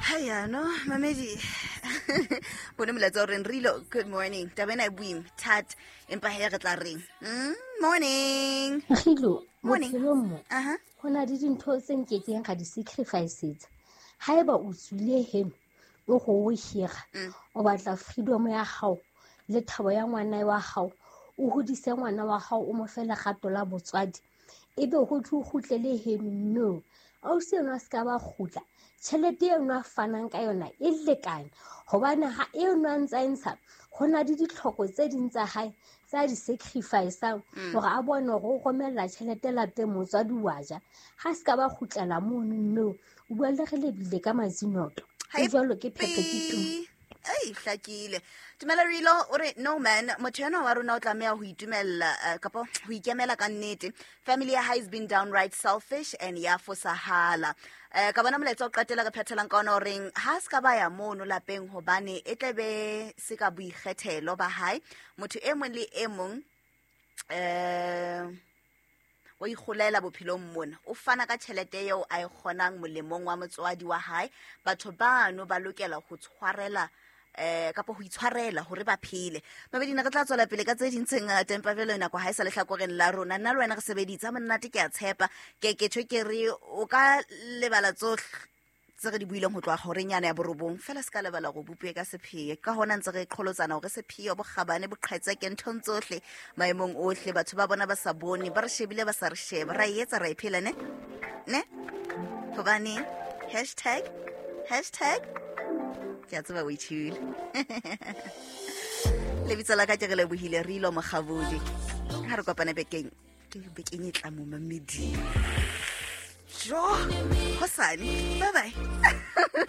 Hayano mamedi, bone molaetsa o reng rilo. Good morning. Taba ena e boima that, empa he re tla reng? Morning. Gilo, Morning. bophelong mo Aha. go na le dintho tse nkekeng ga di sacrificeetsa. Ha eba o tswile heno o go o hira, o batla freedom ya gago le thabo ya ngwana wa gago, o hodise ngwana wa gago, o mo fe legato la botswadi, ebe go tle o kgutlele heno. No, ausi eno a se ka ba kgutla. Tjhelete eno a fanang ka yona e lekane, gobane ha eno a ntse a e ntsha, go na le ditlhoko tse ding tsa hae tse a di sacrificang hore a bone hore o romella tjhelete lapeng, motswadi wa ja. Ha se ka ba kgutlela mono. No, o bua le re lebile ka matsinoto Ha e e jwalo ke phetho ke tu. Pi. Ei, hlakile. Dumela Rilo, o re no man, motho enwa wa rona o tlameha ho itumella, kapa ho ikemela ka nnete. Family ya hae has been downright selfish and ya fosahala. Ka bona molaetsa o qetela re phethelang ka ona o reng ha se ka ba ya mono lapeng hobane e tle be se ka boikgethelo ba hae. Motho e mong le e mong o ikgolela bophelong mona, o fana ka tjhelete eo a e kgonang molemong wa motswadi wa hae. Batho bano ba lokela ho tshwarela, kapa ho itshwarela hore ba phele. Mabedina, re tla tswela pele ka tse ding tse ngata, empa jwale nako ha e sa lehlakoreng la rona. Nna le wena re sebeditse ha monate, ke a tshepa. Ke ke tjho ke re o ka lebala tsohle tse re di buileng ho tloha horeng yana ya borobong, fela se ka lebala go bopue ka sepheo. Ka hona ntse re qholotsana hore sepheo, bokgabane, boqhetseke nthong tsohle, maemong ohle, batho ba bona ba sa bone, ba re shebile ba sa re sheba, ra e etsa, ra e phela, ne ne hobane hashtag, hashtag ke a tseba o itshule. Lebitso la ka ke re lebohile re ilo mokgabodi. Ha re kopane bekeng, ke bekeng e tla mo mamedi. Jo, hosane. Bye bye.